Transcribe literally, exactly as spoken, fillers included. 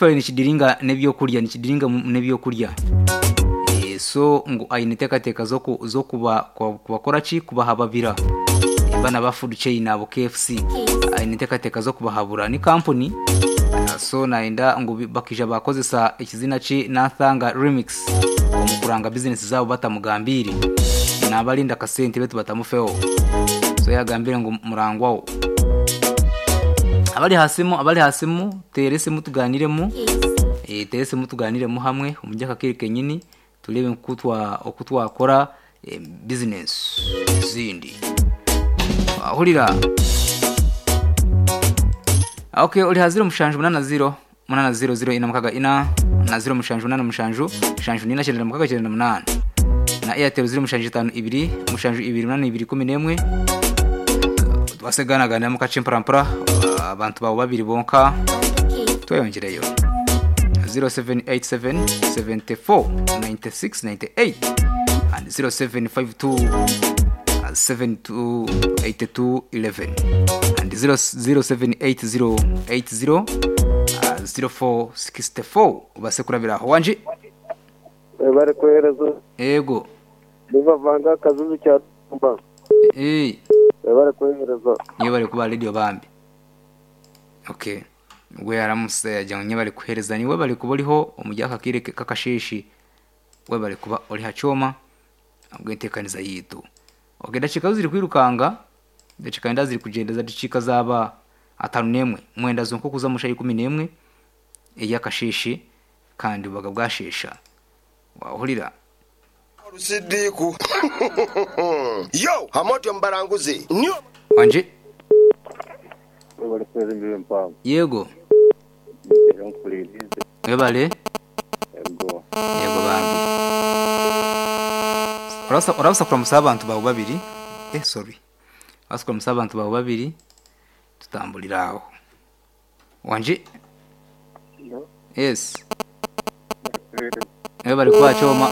Actually nikidiringa n'ebyokurya, nikidiringa n'ebyokurya. Eh, so ngu aine enteekateeka z'oku- z'okuba kubakora ki? Kubahababira. Bana ba food chain abo K F C aine enteekateeka z'okubahabura. Ni kampuni, so nayenda ngu bakija bakozesa ekizina ki Nathanga Remix omu kuranga business zabo batamugambiire. Nabalinda kasente betu batamufeho. So yagambire ngu murangwaho. Abali hasimu, abali hasimu, tere esimu tuganiremu. Eh, tere esimu tuganiremu hamwe omujja kakiri kenyini turebe nkutwa okutwakora eh, business zindi. Ahurira. Okay, uri haziro mushanju munana zero munana zero zero ina mukaga ina na zero mushanju munana mushanju mushanju nina cyenda mukaga cyenda munana na Airtel zero mushanju itanu ibiri mushanju ibiri munana ibiri kumi n'emwe. Twasegana gana mukace mparampara abantu bawo babiri bonka tweyongereyo zero seven eight seven seventy four ninety six ninety eight and zero seven five two seven two eight two eleven and zero zero seven eight zero eight zero zero four sixty four. Ubase kurabira aho wanje bari kohereza ego bivavanga kazuzu cya tumba eh bari kohereza niyo bari kuba radio bambi. Okay, we yaramuse yajya nye bari kuhereza niwe bari kuba uriho umujya kakire kakashishi we bari kuba uri hacoma ubwentekaniza yitu. Okay, ndacika ziri kwirukanga ndacika nda ziri kugenda zadicika zaba atanu nemwe mwenda zonko kuza mushayi kumi nemwe eyakashishi kandi bubaga bwashesha wahurira Sidiku yo hamotyo mbaranguzi niyo wanje bari kohereza imbibe mpango yego webale yego yego bambi urasa urasa kuramusa abantu bawe babiri eh sorry urasa kuramusa abantu bawe babiri tutambulira aho wanje yes webale kwa choma